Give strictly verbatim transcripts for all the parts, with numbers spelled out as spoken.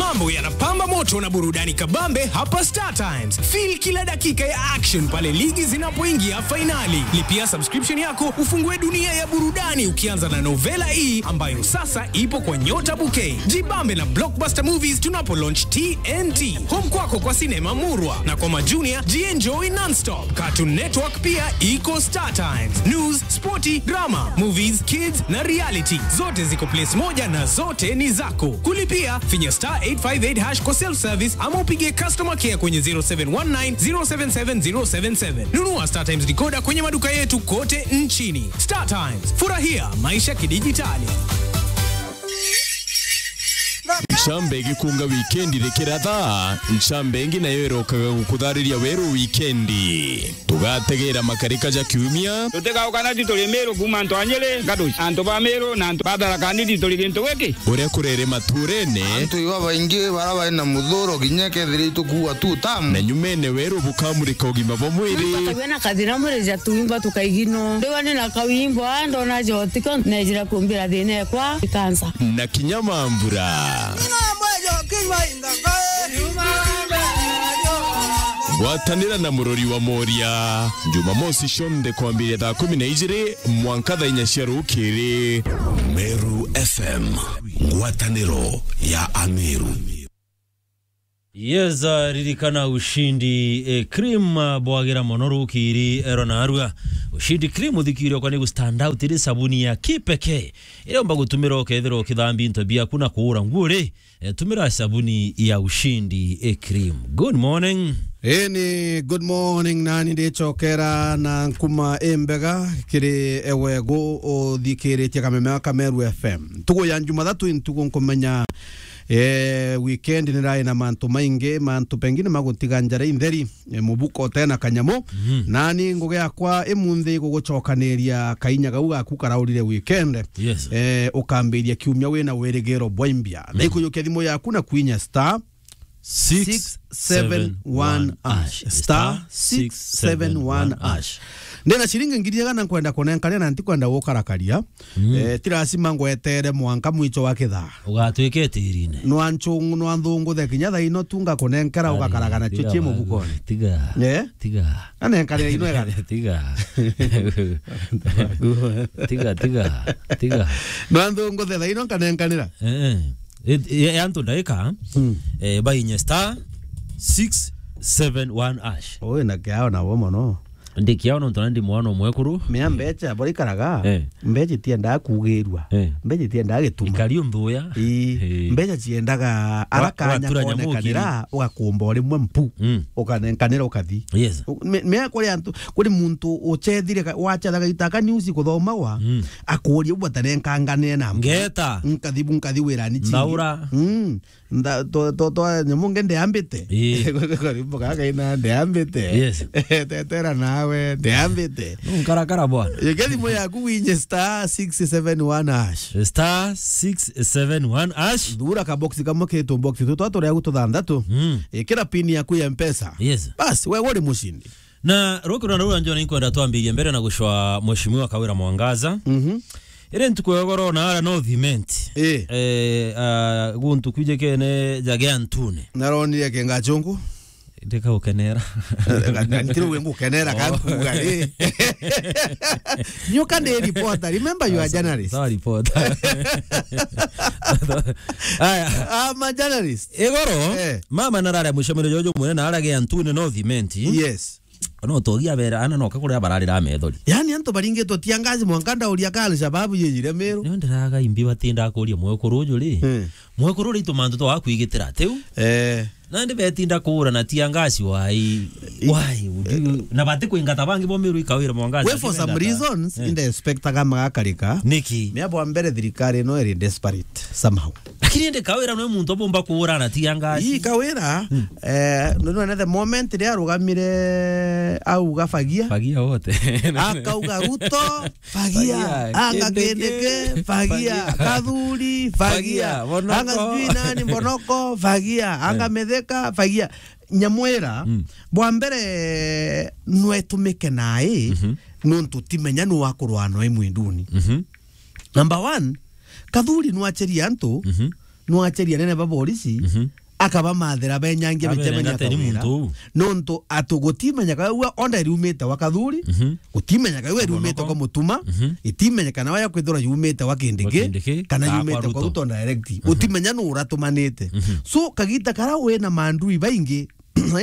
Mambo yanapamba moto na burudani kabambe hapa Star Times. Feel kila dakika ya action pale ligi zinapoingia fainali. Lipia subscription yako ufungue dunia ya burudani ukianza na Novela E ambayo sasa ipo kwa Nyota Bouquet. Jibambe na Blockbuster Movies tunapo launch T N T. Home kwako kwa sinema murwa na kwa majunia jienjoy non-stop. Cartoon Network pia iko Star Times. News, sporti, drama, movies, kids na reality. Zote ziko place moja na zote ni zako. Kulipia, finya star eight five eight hash kwa self-service ama upige customer care kwenye zero seven one nine zero seven seven zero seven seven. Nunua Star Times decoder kwenye maduka yetu kote nchini. Star Times, furahia maisha kidijitali. Ncambe igikunga wikendi rikiratha, ncambe ingi nayo irokaga gukuthariria weru wikendi. Tugategera makarika ja kiumia. Tutigaukana ti turi Miru kuuma antu a Nyeri, Gaduci, antu ba Miru na antu ba Tharaka Nithi turi gintu giki. Uria kurere maturene. Antu iba baingi bara bari na muthuro kinya kethira itukuua tu tamu. Na nyumene weru bukamurika ugima bwa mwiri. Muntu akagua na kathina mwiri ja tuimba tukaigino. Ndiwa ni na kawimbo, ah, ndona jotiko, nejira kumbira thina ekwa ikansa. Na kinya mambura. Ngwatanira na murori wa Moria, Jumamosi cionthe kwambiria thaa kumi na ijiri mwanka thaa inya cia rukiri. Meru F M, ngwataniro ya Ameru. Yes, uh, ririkana Ushindi, eh, cream, uh, bwagira mono rukiri, ero narua. Ushindi cream uthikiri okwa ni gu stand out iri sabuni ya kipekee. Iria umba gutumira ukethira ukithambia into biaku na kuura nguo ri, eh, tumira sabuni ya Ushindi, eh, cream. Good morning. Ii ni good morning, nani ndicokera na nkuma imbega kiri ewe gu uthikiritie kameme ka Meru F M. Ntugu ya Jumathatu ntugu nkumenya, eh, weekend ni rai na mantu maingi, mantu pengine magutiga njara intheri, eh, mubuko tena kanyamu. Mhm. Nani ngugi yakwa imunthi gugucokaniria kainya gau gaku karaurire weekend. Yes. Eh, ukambiria kiumia wina wirigiro bwa imbia. Mhm. Na ikujukia thimu yaku na kwinya star six seven one hash. Star six seven one hash. Ndina ciringi ngiri igana nkwenda kunenkanira na ntikwenda gukarakaria. Mm. Eh, ti lazima ngwetere mwanka mwicho wa kithaa. Ugatwika itirine. Nwa nchungu, nwa nthunguthe kinya thaa ino tu ngakunenkera. Ari, ugakaragana cio tiga cie wagu, mubukoni. Tiga. Eh? Tiga. Anenkanira ino ega. Tiga. Tiga, tiga, tiga. Nwa nthunguthe thaa ino nkanenkanira. Eh, eh. It, ya, ya antu ndaika, mm, eh, bainye star six seven one hash. Ui na kiao nabo mono. Ndi kiao nontu na ndi mwana omwekuru. Mea mbecha, bora ikaraga, eh, mbecha itiendaga kugirua. Eh. Mbecha itiendaga gituma. Ikari unthuya. Ii. Eh. Mbecha ciendaga ara kanya konekanira, ugakumba o rimwe mpu. Mm. Ukanenkanira ukathi. Yes. U-, me-, mea kuri antu, kuri muntu uchethire ka-, wachethaga gitaka news kuthomagwa, mm, akuria u batarenkanganire na mpu. Ngeta. Nkathi bu, nkathi wirani chingi. Ndaura. Mm. Nda-, to-, to-, to-, nyamu nge ndeambite. Ii. Karimbo gaka ina ndeambite. Yes. Tetera nawe, ndeambite. Nkarakara bwana. Yeke thimu yaku winye star six seven one hash. Star six seven one hash. Thura ka box kamwe ketu box tu twa turia gututhanthatu. Mm. Ikira pin yaku ya Mpesa. Yes. Bas, we uri mushindi. Na rukiro na rura njona inkwenda twambirie mbere na gucwa Mheshimiwa Kawira Mwangaza. Mhm. Iri ntuku ya goro na ara North Imenti. Ii. Eh, ah, guntu kwijikene jage antune. Naronire kengachungu. Ndika gukenera. Ntiri we ngukenera, oh, kankuga, ii. Nyuka ndi reporter. Remember you are journalist. Sawa, reporter. Aya. I'm a journalist. Igoro, eh, mama narare mucemanio jojo munene arage antune North Imenti. Yes. No togia bera ana no kakuria bararira methori. Yaani antu baringitwe tia ngazi mwanka ndauria ka Al-Shabaab yeyire Meru. Nio ndiraga imbi batinda kuria mwekuru uju ri. Eh. Mwekuru ri tumantu twa kwigitira tiu. Eh. Nandi betinda kuura na tia ngazi wai. Why would you? Na bati kwingata bangi bo Meru ikawira mwangazi. We for some reasons, eh, inde expectaga magakarika. Niki? Mea bwa mbere thirikari ino iri desperate somehow. Lakini indi Kawira nwe muntu abumba kuura na tia ngazi. Ii Kawira, hmm, eh, nonene the moment ria arugamire auga fagia. Fagia wote. Akauga Ruto, fagia. Fagia. Anga Kindiki, Kindiki, fagia. Fagia. Kathuri, fagia. Fagia. Bonoko. Anga sijui nani, Bonoko, fagia. Anga, eh, Mithika, fagia. Nyamwira, mm, bwa mbere nwe tumike nai, mhm, nontu timenya nu wakurwa noi mwinduni. Mhm. Number one, Kathuri nwacheria antu, mhm, nwacheria nene ba borisi, Mhm. akabamathira benyangia Abere micemeni ngate ni akawira. Muntu uu. Nontu atu gutimenyeka we ua onda iriumite wa Kathuri, Mhm. gutimenyeka we iriumite Kabonoka. Kwa Mutuma, Mhm. itimenyeka nawe ya kwithirwa yumite wa Kindiki, Wa Kindiki, kana kana yumite kwa kwa Ruto. Ruto direct. Mhm. Utimenya nu uratumanite. Mhm. So, kagita kara wina mandui baingi,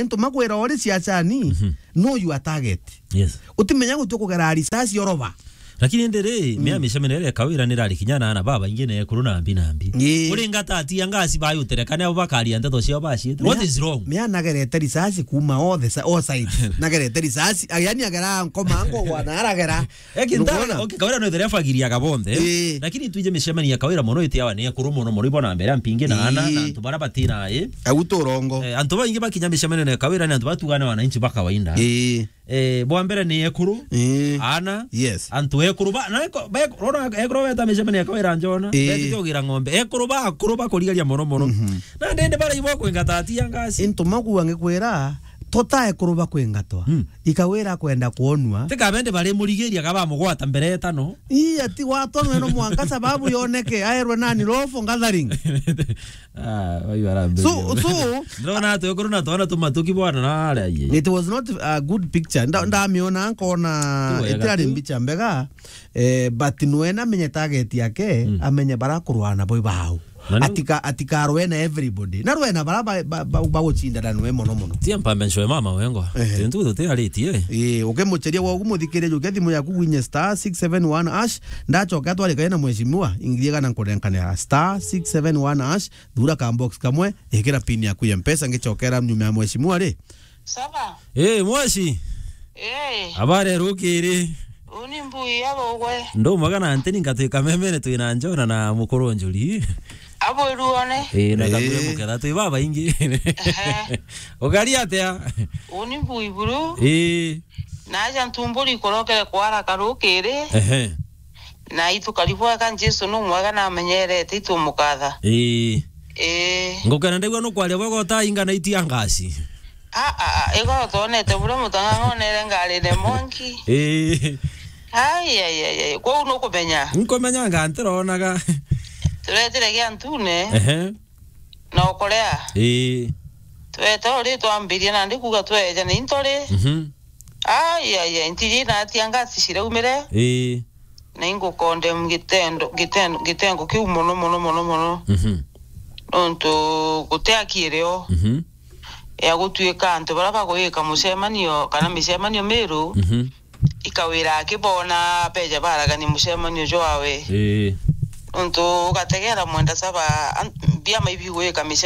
into makwira ori siasani, Mhm. no you are target. Yes. Utimenya gutu kugera risasi oroba. Lakini ndiri, Mm. mia micemene ere kawira ni rari kinya na ana baba ingi na ekuru na mbi na mbi. Ii. Uri ngata atia ngasi bayuterekane abo bakaria nteto ciao baciite. What Mia-, is wrong? Mia nagerete risasi kuma all the si-, all sides. Nagerete risasi, a, yani agera nkoma ngo wana aragera. Eki ntara, Ndukona? Okay, kawira no ithire afagiria gabonthe. Ii. Lakini twije micemeni ya kawira mono itiawa ni ekuru mono, mono ibona mbere mpingi na ana, Ii. na antu bara batina, ii. Au turongo. Eh, antu baingi bakinya micemeni na kawira ni antu batugane wananchi ba kawaida. Ii. Eh, bwa mbere ni ekuru, Ii. ana, Yes. antu ekuru ba, na eko-, be-, rona ekuru beta micemeni ya kawira njona, Ii. beti kiogira ng'ombe. Ekuru ba, akuru ba kurigaria mono mono. Mhm. Na ndende bara ibo kwingata atia ngasi. Into magu angikwira, tota ekuru ba kwingatwa. Mm. Ikawira kwenda kuonua. Tika bende bari murigiria kaba mugwata mbere etano. Ii, ati watonwe no mwanka sababu yoneke, aerwe nani, lawful gathering. Ah, wai warambe. So, so, Ndona atu ekuru na twana tumatuki bwana na aria ye. It was not a good picture. Nda-, ndamiona nkona Tu wega itirari tu. Mbicha mbega. Eh, but nwena amenye target yake, Mm. amenye bara kurwana boy bao. Na ni Atika-, atikarwe na everybody. Na rwena bara ba-, ba-, ba-, bagucindana nwe mono mono. Tia mpambe nshwe mama wengwa. Ehe. Tintu tutiaritie. Ii, ukimucheria gwa gumuthikiria jukia thimu yaku gwinye star six seven one hash, ndachoka twarikane na mheshimiwa, ingiria kana nkurenkanira star six seven one hash, thura ka box kamwe, ikira pin yaku ya Mpesa, ngichokera nyuma ya mheshimiwa ri. Saba. Eh, mwashi. Eh. Habari rukiri. Uni mbui ya bogwe. Ndo mwaga na nteni ngatwika memene twina njona na mukuru njuri. Abo iruone. Eh, na Eh. Kabure muketha twi baba ingi. Ehe. Ukari atia? Uni mbui buru. Eh. Na aja ntumburi kurokere kwara karukiri. Ehe. Na itu karibwega Jesu nu mwega na amenyerete itu mukatha. Ii. Ii. Ngukena ndegwa nukwaria bwega utainga na itia ngasi. Ah, ah, ah, igo tonete buria mutang'ang'onere ngari ne monki. Ii. Ai, ai, ai, ai. Kwou nukumenya. Nkumenya nga ntironaga. Turetire gia ntune. Ehe. Na ukorea. Ii. Twete uri twambirie nandi kuga tweja na into ri. Mhm. Ai, ai, ai, ntiji na atia ngasi ciraumire. Ii. Na ingukondem gitendo, gitendo, gitengo kiu mono, mono, mono, mono. Mhm. Nontu guti aki irio Mhm. ya gutuika antu bara bagwika mucemanio kana micemanio miru, Mhm. ikawira akibona beja baragania mucemanio jwawe. Ii. Nontu ugategera mwenda saba an-, biama ibi gwika micemanio